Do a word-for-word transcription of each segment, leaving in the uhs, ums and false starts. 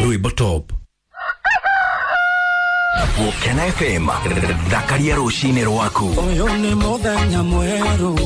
Rwimbo Top. Gũkena F M, thakaria rũcinĩ rwaku. Ũyũ nĩ mũthenya mwerũ.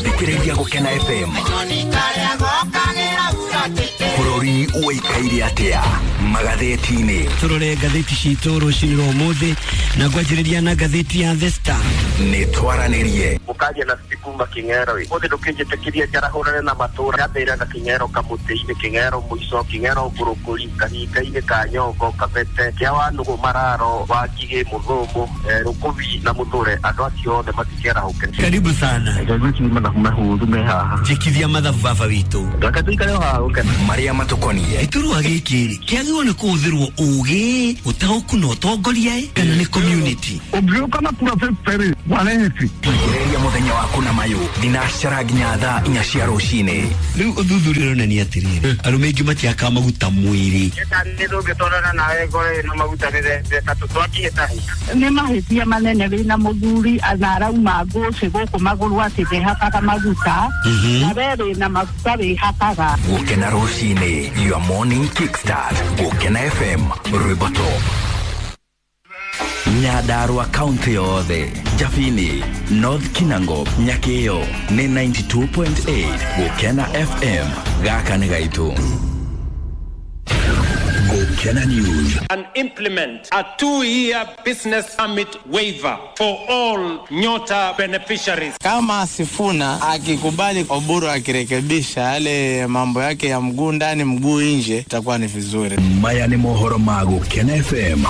Thikĩrĩria Gũkena F M. Bũrũri ũikaire atĩa magathĩti-inĩ? Tũrore ngathĩti citũ rũcinĩ rwa ũmũthĩ na ngwanjĩrĩria na ngathĩti ya The Star. Nĩ twaranĩrie. Mũkaria na kuma Kĩng'ero ĩ. Ũmũthĩ ndũkĩnjĩtĩkĩrie njarahũrane na matũra. Ngambĩrĩra na Kĩng'ero kamũtĩ-inĩ, Kĩng'ero mũico, Kĩng'ero ngũrũkũri, kahinga-inĩ ka Nyongo, Kabete, kĩa Wanũgũ, Mararo, Wangigĩ, Mũthũmũ, eh, Rũkũbi na Mũthũre. Andũ acio othe matikerahũke. Karibu sana. Karibu mathabu mahũthũ me haha. Njĩkithia mathabu baba witũ. Reke tũikare o haha gũkena. Marĩa matũkoniĩ. Gĩturwa gĩkĩ rĩ, kĩagĩrĩirwo nĩ kũhũthĩrwo ũgĩ, ũtaũku na ũtongoria ĩ, kana nĩ community? Ũngĩũka na kura fifty rĩ, wareheti. Tigĩrĩria mũthenya waku na mayũ thinacara nginya thaa inya cia rũcinĩ. Rĩu ũthuthuria ũronania atĩrĩrĩ, arũme aingĩ matiakaga maguta mwĩrĩ. Nĩ tũngĩtwarana nawe ngoro ĩno maguta nĩ tũtwakĩhĩtahĩta. Nĩ mahĩtia manene wĩna mũthuri na arauma ngũcĩ gũkũ magũrũ atĩ ndehakaga maguta, na we wĩna maguta wĩhakaga. Gũkena rũcinĩ, your morning kickstart. Gũkena F M, Rwimbo Top. Nyandarua kaunti yothe, Jabini, North Kinango, Nyakeo nĩ ninety-two point eight. Gũkena F M, gaka nĩ gaitũ. Gũkena News. And implement a two-year business permit waiver for all Nyota beneficiaries. Kama Sifuna akikubali Oburu akirekebisha yale mambo yake ya mguu ndani mguu nje, itakuwa ni vizuri. Maya ni mohoro ma Gũkena F M.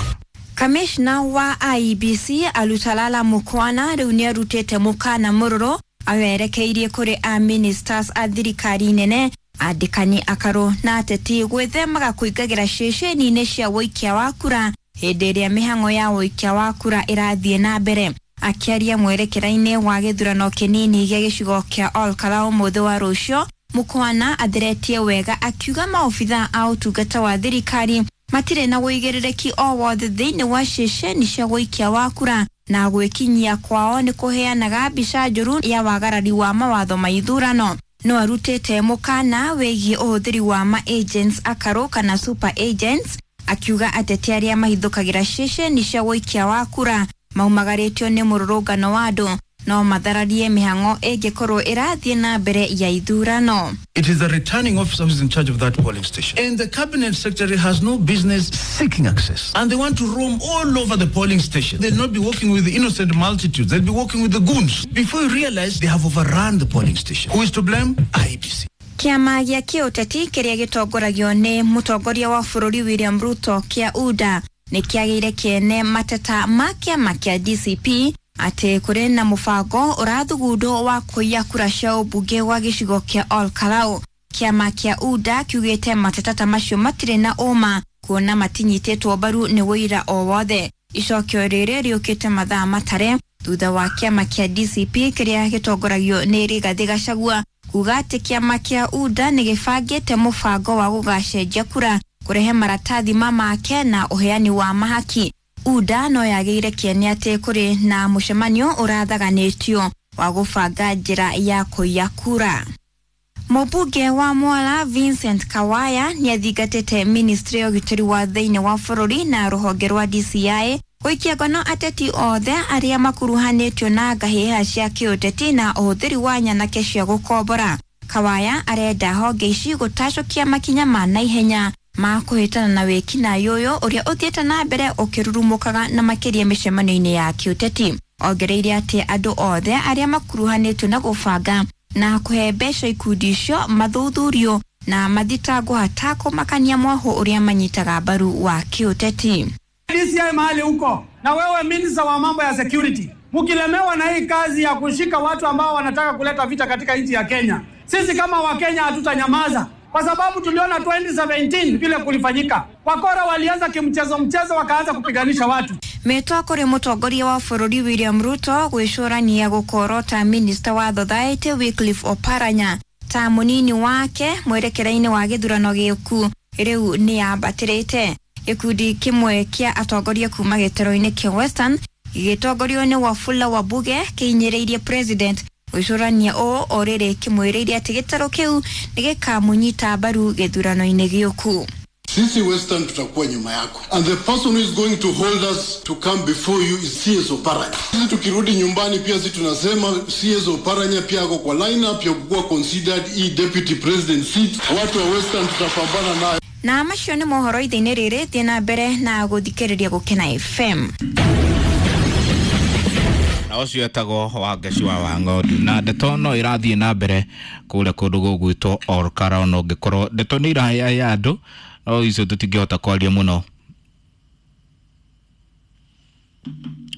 Kamishna wa I E B C Alutalala Mukwana rĩu nĩarutĩte mũkana mũrũrũ awerekeirie kũrĩ a ministers a thirikari nene, andĩkani akarũ na ateti gwĩthemaga kũingagĩra ceceni-inĩ cia ũikia wa kura hĩndĩ ĩrĩa mĩhang'o ya ũikia wa kura ĩrathiĩ na mbere. Akĩaria mwerekera-inĩ wa gĩthurano kĩnini gĩa gĩcigo kĩa Olkalau ũmũthĩ wa rũciũ, Mukwana atheretie wega akiuga maobitha a ũtungata wa thirikari matirĩ na ũigĩrĩrĩki o wothe thĩinĩ wa ceceni cia ũikia wa kura na gwĩkinyia kwao nĩ kũheanaga mbica njũru ya wagarari wa mawatho ma ithurano. No arutĩte mũkana wĩgiĩ ũhũthĩri wa ma agents akarũ kana super agents, akiuga ateti arĩa mahithũkagĩra ceceni cia ũikia wa kura maumagarĩtio nĩ mũrũrũngano wa andũ no mathararie mĩhang'o ĩngĩkorwo ĩrathiĩ na mbere ya ithurano. It is the returning officer who is in charge of that polling station. And the cabinet secretary has no business seeking access. And they want to roam all over the polling station. They'll not be working with the innocent multitudes. They'll be working with the goons. Before you realize, they have overrun the polling station. Who is to blame? I E B C. Kĩama gĩa kĩũteti kĩrĩa gĩtongoragio nĩ mũtongoria wa bũrũri William Ruto kĩa U D A nĩ kĩagĩire kĩene mateta ma kĩama kĩa D C P atĩ kũrĩ na mũbango ũrathugundwo wa kũiya kura cia ũmbunge wa gĩcigo kĩa Olkalau. Kĩama kĩa U D A kiugĩte mateta ta macio matirĩ na ũma kuona matinyitĩtwo mbaru nĩ ũira o wothe. Icokio rĩrĩ rĩũkĩte mathaa matare thutha wa kĩama kĩa D C P kĩrĩa gĩtongoragio nĩ Rigathĩ Gachagua kuga atĩ kĩama kĩa U D A nĩ gĩbangĩte mũbango wa gũgacenjia kura kũrehe maratathi ma make na ũheani wa mahaki. U D A no yagĩire kĩene atĩ kũrĩ na mũcemanio ũrathaganĩtio wa gũbanga njĩra ya kũiya kura. Mũmbunge wa Mwala Vincent Kawaya nĩathingatĩte ministry ya ũgitĩri wa thĩinĩ wa bũrũri na rũhonge rwa D C I gũikia ngono ateti othe arĩa makuruhanĩtio na ngahĩha cia kĩũteti na ũhũthĩri wa nyanake cia gũkombora. Kawaya arenda honge ici gũtacũkia makinya ma naihenya ma kũhĩtana na wĩkinaĩ ũyũ ũrĩa ũthiĩte na mbere ũkĩrurumũkaga na makĩria mĩcemanio-inĩ ya kĩũteti. Ongereire atĩ andũ othe arĩa makuruhanĩtio na gũbanga na kũhe mbeca ikundi icio mathuthurio na mathitangwo hatakũmakania mwahũ ũrĩa manyitaga mbaru wa kĩũteti. D C I mahali huko na wewe minister wa mambo ya security, mkilemewa na hii kazi ya kushika watu ambao wanataka kuleta vita katika nchi ya Kenya, sisi kama Wakenya hatutanyamaza. Kwa sababu tuliona twenty seventeen vile kulifanyika. Wakora walianza kimchezo mchezo wakaanza kupiganisha watu. Metwa kuri mutongoria wa bũrũri William Ruto gwĩcũrania gũkorota minister wa Society Wycliffe Oparanya ta mũnini wake mwerekera-inĩ wa gĩthurano gĩũku rĩu nĩyambatĩrĩte. Gĩkundi kĩmwe kĩa atongoria kuma gĩtaro-inĩ kĩa Western gĩgĩtongorio nĩ Wafula Wabuge kĩinyĩrĩirie president Gwĩcũrania ũũ o rĩrĩ kĩmwĩrĩire atĩ gĩtarũ kĩu nĩ gĩkamũnyita mbaru gĩthurano-inĩ gĩũku. Sisi Western tutakuwa nyuma yako. And the person who is going to hold us to come before you is C S Oparanya. Sisi tukirudi nyumbani pia sisi tunasema C S Oparanya pia ako kwa lineup ya kuwa considered e deputy president seat. Watu wa Western tutapambana nayo. Na macio nĩ mohoro ithe-inĩ rĩrĩ, thiĩ na mbere na gũthikĩrĩria Gũkena F M. Na ũcio etagwo Wangeci wa Wang'ondu. Na ndeto no ĩrathiĩ na mbere kũrĩa kũndũ gũgwĩtwo Olkalau, no ũngĩkorwo ndeto nĩ irahaya andũ, no icio tũtingĩhota kwaria mũno.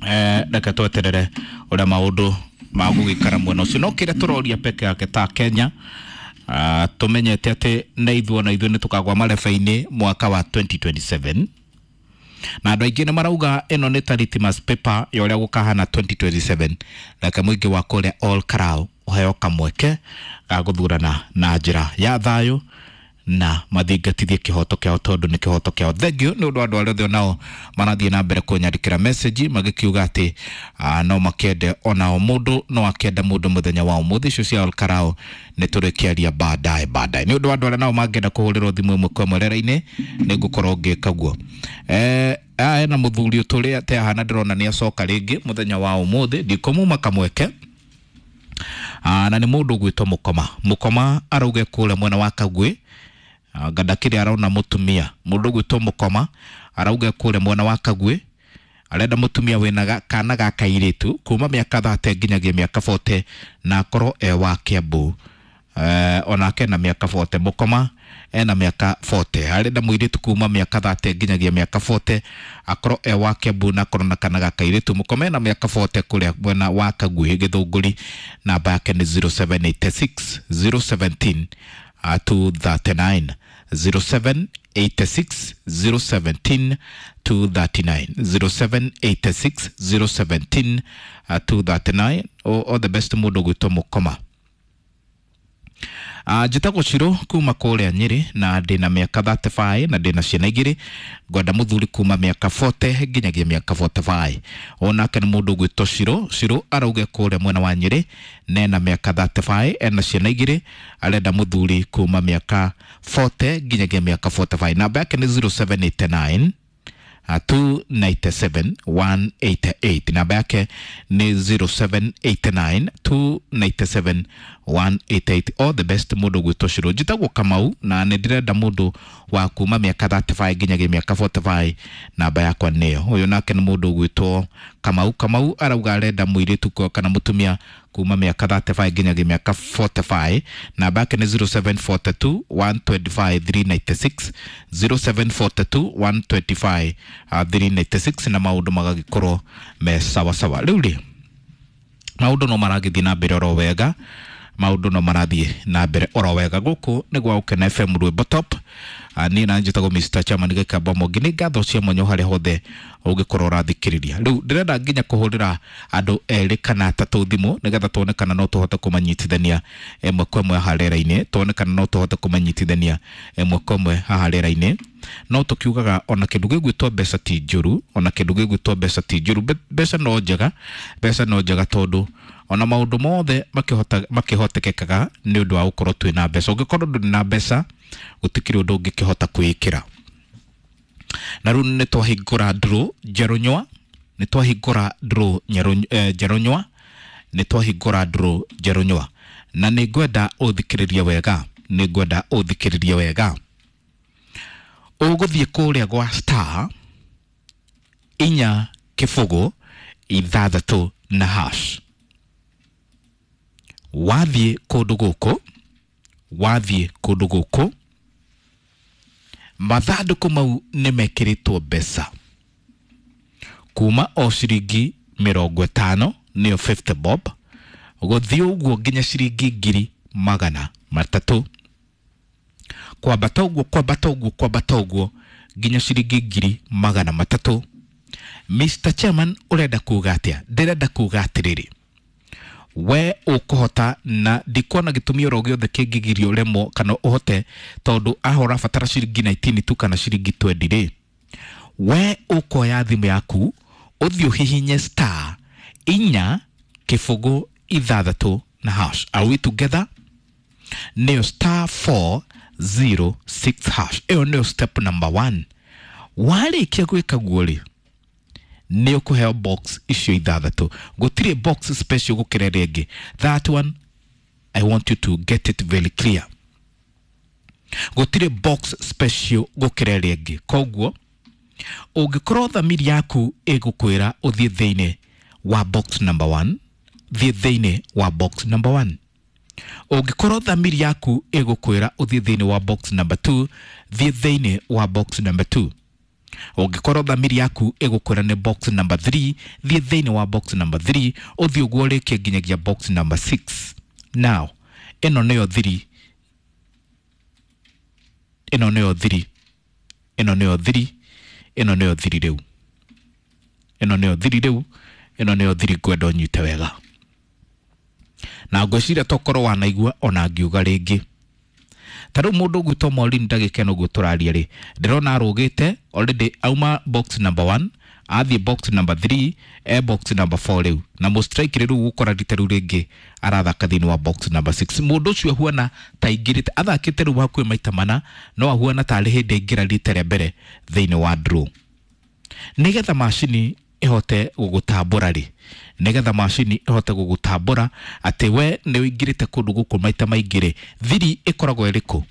Eh, reke tweterere ũrĩa maũndũ magũgĩikara mwena ũcio. No kĩrĩa tũroria peke yake ta Kenya, uh, tũmenyete atĩ nĩ ithuĩ ona ithuĩ nĩ tũkagwa marebe-inĩ mwaka wa twenty twenty-seven. Na andũ aingĩ nĩ marauga ĩno nĩ ta litmus paper ya ũrĩa gũkahana twenty twenty-seven. Reke mũingĩ wa kũrĩa Olkalau ũheo kamweke ga gũthurana na njĩra ya thayũ na mathingatithie kĩhoto kĩao tondũ nĩ kĩhoto kĩao. Thank you nĩ ũndũ wa andũ arĩa othe onao marathiĩ na mbere kũnyandĩkĩra message magĩkiuga atĩ uh, no makende onao mũndũ no akende mũndũ mũthenya wa ũmũthĩ. Icio cia Olkalau nĩ tũrĩkĩaria baadaye baadaye. Nĩ ũndũ wa andũ arĩa nao mangĩenda kũhũrĩrwo thimũ ĩmwe kwa ĩmwe rera-inĩ nĩ ngũkorwo ngĩka guo. Eh, aya na mũthuri ũtũrĩa atĩ ahana ndĩrona nĩ acoka rĩngĩ mũthenya wa ũmũthĩ, ndikũmuma kamweke. Ah, na nĩ mũndũ ũgwĩtwo Mũkoma. Mũkoma arauge kũrĩa mwena wa Kagwĩ, ngandakĩrĩ arona mũtumia. Mũndũ ũgwĩtwo Mũkoma arauge kũrĩa mwena wa Kagwĩ arenda mũtumia wĩna kana ga kairĩtu kuma mĩaka thate nginyagia mĩaka forty na akorwo e wa Kiambu. Eh, onake na mĩaka forty. Mũkoma ena mĩaka forty, arenda mũirĩtu kuma mĩaka thate nginyagia mĩaka forty akorwo e wa Kiambu na akorwo na kana ga kairĩtu. Mũkoma ena mĩaka forty kũrĩa mwena wa Kagwĩ Gĩthũngũri. Namba yake nĩ zero seven eight six zero seventeen two thirty-nine, zero seven eight six zero seventeen two thirty-nine, zero seven eight six zero seventeen two thirty-nine. All the best mũndũ gwĩtwo Mũkoma. Uh, njĩtagwo Ciro kuma kũrĩa Nyĩrĩ na ndĩna mĩaka thirty-five na ndĩna ciana igĩrĩ. Ngwenda mũthuri kuma mĩaka forty nginyagia mĩaka forty-five. Onake nĩ mũndũ ũgwĩtwo Ciro. Ciro arauge kũrĩa mwena wa Nyĩrĩ na ena mĩaka thirty-five, ena ciana igĩrĩ, arenda mũthuri kuma mĩaka forty nginyagia mĩaka forty-five. Namba yake nĩ zero seven eight nine two nine seven one eight eight. Namba yake ni zero seven eight nine two nine seven one eight eight. All the best mũndũ gwĩtwo Ciro. Njĩtagwo Kamau na nĩ ndĩrenda mũndũ wa kuma mĩaka thirty-five nginyagia mĩaka forty-five. Namba yakwa nĩyo. Ũyũ nake nĩ mũndũ gwĩtwo Kamau. Kamau arauga arenda mũirĩtu kana mũtumia kuma mĩaka thirty-five nginyagia mĩaka forty-five. Namba yake nĩ zero seven four two one two five three nine six, zero seven four two one two five three nine six, na maũndũ magagĩkorwo me sawa sawa. Rĩu rĩ maũndũ no maragĩthiĩ na mbere oro wega, maũndũ no marathiĩ na mbere oro wega. Gũkũ nĩ gwa Gũkena F M Rwĩmbo Top. Niĩ na njĩtagwo Mister Chairman Gĩkamba Mwangi. Nĩ ngatho cia mwanya harĩa hothe ũngĩkorwo ũrathikĩrĩria. Rĩu ndĩrenda nginya kũhũrĩra andũ erĩ kana atatũ thimũ nĩgetha tuone kana no tũhote kũmanyitithania ĩmwe kwa ĩmwe haha rĩera-inĩ, tuone kana no tũhote kũmanyitithania ĩmwe kwa ĩmwe haha rĩera-inĩ. No tũkiugaga ona kĩndũ gĩgwĩtwo mbeca ti njũru, ona kĩndũ gĩgwĩtwo mbeca ti njũru. Mbeca no njega, mbeca no njega tondũ ona maũndũ mothe makĩhota makĩhotekekaga nĩ ũndũ wa gũkorwo twĩna mbeca. Ũngĩkorwo ndũrĩ na mbeca gũtikĩrĩ ũndũ ũngĩkĩhota kwĩĩkĩra. Na rĩu nĩ twahingũra draw njerũ nywa, nĩ twahingũra draw njerũ nywa, nĩ twahingũra draw njerũ nywa. Na nĩ ngwenda ũthikĩrĩrie wega, nĩ ngwenda ũthikĩrĩrie wega. Ũgũthiĩ kũrĩa gwa star inya kĩbũgũ ithathatũ na hash. Wathiĩ kũndũ gũkũ, wathiĩ kũndũ gũkũ, mathandũkũ mau nĩ mekĩrĩtwo mbeca kuma o ciringi mĩrongo ĩtano nĩyo fifty bob gũthiĩ ũguo nginya ciringi ngiri magana matatũ, kwambata ũguo kwambata ũguo kwambata ũguo nginya ciringi ngiri magana matatũ. Mister Chairman, ũrenda kuga atĩa? Ndĩrenda kuga atĩrĩrĩ, we ũkũhota na ndikuona gĩtũmi oro gĩothe kĩngĩgiria ũremwo kana ũhote, tondũ aho ũrabatara ciringi nineteen tu kana ciringi twenty rĩ, we ũkoya thimũ yaku ũthiĩ ũhihinye star inya kĩbũgũ ithathatũ na hash. Are we together? Nĩyo star four zero six hash. Ĩyo nĩyo step number one. Warĩkia gwĩka guo rĩ, nĩ ũkũheo box icio ithathatũ. Gũtirĩ box special gũkĩra ĩrĩa ĩngĩ. That one I want you to get it very clear. Gũtirĩ box special gũkĩra ĩrĩa ĩngĩ. Koguo ũngĩkorwo thamiri yaku ĩgũkwĩra ũthiĩ thĩinĩ wa box number one, thiĩ thĩinĩ wa box number one. Ũngĩkorwo thamiri yaku ĩgũkwĩra ũthiĩ thĩinĩ wa box number two, thiĩ thĩinĩ wa box number two. Ũngĩkorwo thamiri yaku ĩgũkwĩra nĩ box number three, thiĩ thĩinĩ wa box number three, ũthiĩ ũguo ũrĩkie nginyagia box number six. Now, ĩno nĩyo thiri, ĩno nĩyo thiri, ĩno nĩyo thiri, ĩno nĩyo thiri rĩu, ĩno nĩyo thiri rĩu, ĩno nĩyo thiri ngwenda ũnyite wega. Na ngwĩciria tokorwo wanaigua ona ngiuga rĩngĩ. Ta rĩu mũndũ ũgwĩtwo Maureen ndagĩka ĩno ũguo tũraria rĩ, ndĩrona arũgĩte already auma box number one, athiĩ box number three, e box number four rĩu. Na mũstrike rĩu gũkora rita rĩu rĩngĩ arathaka thĩinĩ wa box number six. Mũndũ ũcio ahuana ta aingĩrĩte, athakĩte rĩu hakuhĩ maita mana, no ahuana tarĩ hĩndĩ aingĩra rita rĩa mbere thĩinĩ wa draw. Nĩgetha macini ĩhote gũgũtambũra rĩ, nĩgetha macini ĩhote gũgũtambũra atĩ we nĩ ũingĩrĩte kũndũ gũkũ maita maingĩ rĩ, thiri ĩkoragwo ĩrĩkũ?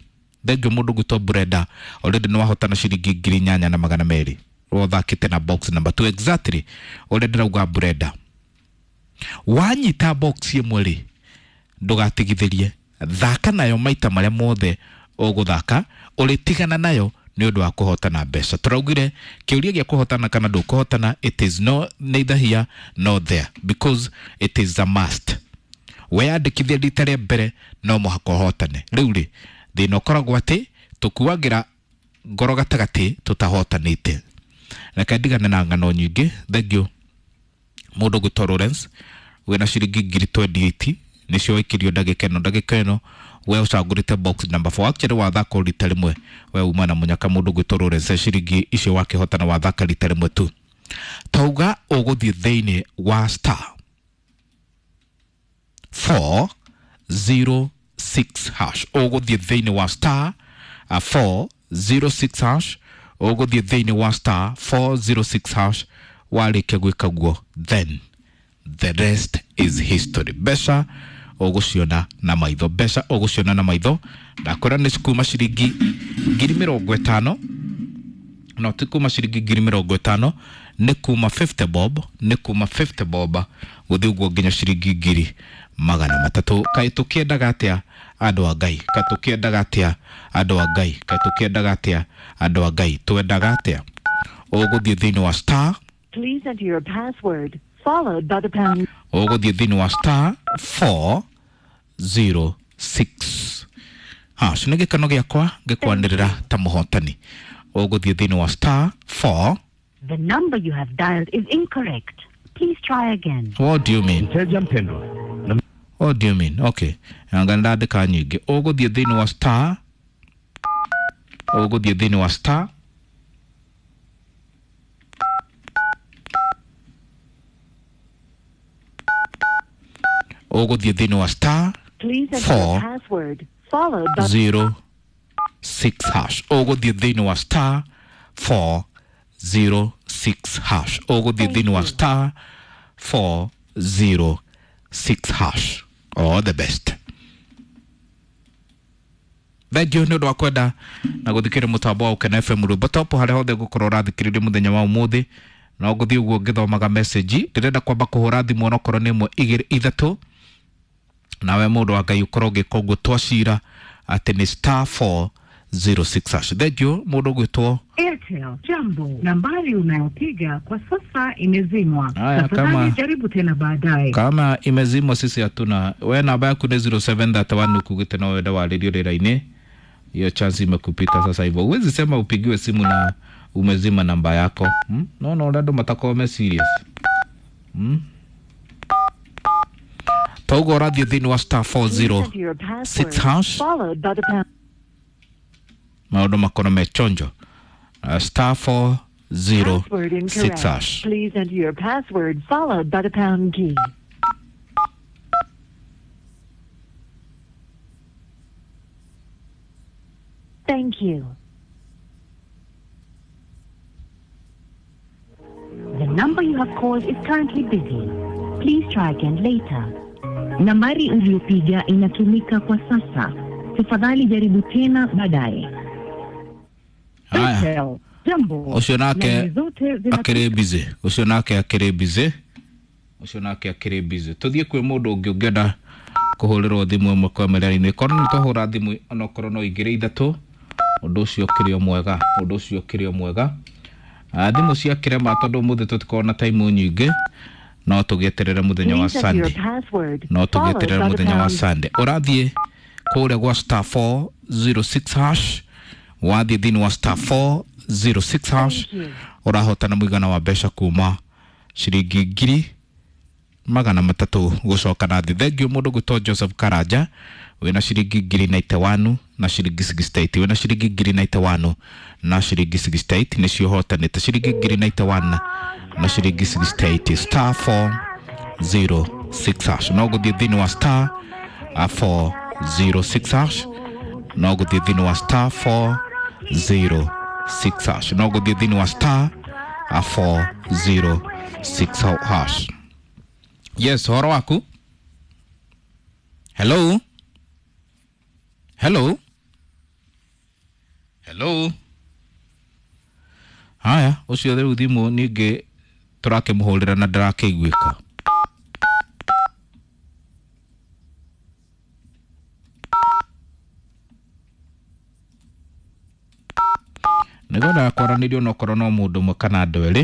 Thengio mũndũ ũgwĩtwo Brenda, already nĩ wahotana ciringi ngiri inyanya na magana merĩ. Ũthakĩte na box number two exactly ũrĩa ndĩrauga Brenda. Wanyita box ĩmwe rĩ, ndũgatigithĩrie, thaka nayo maita marĩa mothe ũgũthaka, ũrĩtigana nayo nĩ ũndũ wa kũhotana mbeca. Tũraugire kĩũria gĩa kũhotana kana ndũkũhotana, it is no neither here nor there because it is a must. Weyandĩkithia rita rĩa mbere no mũhaka ũhotane. Rĩu rĩ, thĩna ũkoragwo atĩ tũkuagĩra ngoro gatagatĩ tũtahotanĩte. Reke ndigane na ng'ano nyingĩ. Thank you mũndũ ũgwĩtwo Lawrence wĩna ciringi ngiri twenty eight nĩcio waikirio ndagĩka ĩno. Ndagĩka ĩno we ũcagũrĩte box number four. Actually wathaka rita rĩmwe we uma na mũnyaka. Mũndũ ũgwĩtwo Lawrence ciringi icio wakĩhotana wathaka rita rĩmwe tu. Tauga ũgũthiĩ thĩinĩ wa star four zero six hash. Ũgũthiĩ thĩinĩ wa star four zero six hash. Ũgũthiĩ thĩinĩ wa star four zero six hash. Warĩkia gwĩka guo, then the rest is history. Mbeca ũgũciona na maitho, mbeca ũgũciona na maitho. Ndakwĩra nĩ kuma ciringi ngiri mĩrongo ĩtano, no ti kuma ciringi ngiri mĩrongo ĩtano, nĩ kuma fifty bob, nĩ kuma fifty bob gũthiĩ ũguo nginya ciringi ngiri magana matatũ. Kaĩ tũkĩendaga atĩa andũ a Ngai? Kaĩ tũkĩendaga atĩa andũ a Ngai? Kaĩ tũkĩendaga atĩa andũ a Ngai? Twendaga atĩa? Ũgũthiĩ thĩinĩ wa star, Please enter your password followed by the pound. Ũgũthiĩ thĩinĩ wa star four zero six hash. Nĩ gĩkeno gĩakwa ngĩkwanĩrĩra ta mũhotani. Ũgũthiĩ thĩinĩ wa star four. The number you have dialed is incorrect. Please try again. What do you mean? Mteja mpendwa. What do you mean? Okay. Anga ndandĩka nyingĩ. Ũgũthiĩ thĩinĩ wa star, ũgũthiĩ thĩinĩ wa star ũgũthiĩ thĩinĩ wa star Please enter four your password followed by zero six hash. Ũgũthiĩ thĩinĩ wa star four zero six hash. Ũgũthiĩ thĩinĩ wa star four zero six hash. All the best. Thengio nĩ ũndũ wa kwenda na gũthikĩrĩria mũtambo wa Ũkena F M rwĩmbo top harĩa hothe ngũkorwo ũrathikĩrĩria mũthenya wa ũmũthĩ. No ngũthiĩ ũguo ngĩthomaga message. Ndĩrenda kwamba kũhũra thimũ onokorwo nĩ ĩmwe igĩrĩ ithatũ, nawe mũndũ wa Ngai ũkorwo ũgĩka ũguo twacira atĩ nĩ star four zero six hash. Thengio mũndũ ũgwĩtwo Airtel. Jambo, nambari unayopiga kwa sasa imezimwa. Haya, Tafadhali kama jaribu tena baadaye. Kama imezimwa sisi hatuna. We namba yaku nĩ zero seven thirty one ukugite no wenda warĩrio rĩera-inĩ. Hiyo chance imekupita sasa hivyo. Huwezi sema upigiwe simu na umezima namba yako. Hmm? No no, andũ matakorwo me serious. Hmm? Togo ũrathiĩ thĩinĩ wa star four zero Please enter your six password hash. followed by the pound. Maũndũ makorwo me chonjo. Uh, star four zero Password six incorrect. hash. Please enter your password followed by the pound key. Thank you. The number you have called is currently busy. Please try again later. Nambari uliyopiga inatumika kwa sasa. Tafadhali jaribu tena baadaye. Haya. Jambo. Ucio nake Laini zote zina- akĩrĩ busy, ũcio nake akĩrĩ busy, ũcio nake akĩrĩ busy. Tũthiĩ kwĩ mũndũ ũngĩ ũngĩenda kũhũrĩrwo thimũ ĩmwe kwa ĩmwe raini korwo nĩ twahũra thimũ onokorwo no igĩrĩ ithatũ, ũndũ ũcio ũkĩrĩ o mwega, ũndũ ũcio ũkĩrĩ o mwega. Ah, thimũ ciakĩrema tondũ ũmũthĩ tũtikoragwo na time nyingĩ, no tũgĩeterere mũthenya wa Please enter your Sunday, password no followed tũgĩeterere by the mũthenya wa pound. Sunday. Ũrathiĩ kũrĩa gwa star four zero six hash, wathiĩ thĩinĩ wa star four zero six hash ũrahotana mũigana wa mbeca kuma ciringi ngiri magana matatũ gũcoka na thĩ. Thengiũ mũndũ gwĩtwo Joseph Karanja wĩna ciringi ngiri ninety one na ciringi sixty eight, wĩna ciringi ngiri ninety one na ciringi sixty eight nĩcio ũhotanĩte, ciringi ngiri ninety one na ciringi sixty eight, star four zero six hash. No gũthiĩ thĩinĩ wa star uh, four zero six hash, no gũthiĩ thĩinĩ wa star four zero six hash, no gũthiĩ thĩinĩ wa star uh, four zero six hash. Yes, ũhoro waku? Hello, hello, hello. Haya, ũcio rĩu thimũ ningĩ tũrakĩmũhũrĩra na ndarakĩiguĩka. Nĩngwendaga kwaranĩrio onokorwo no mũndũ ũmwe kana andũ erĩ.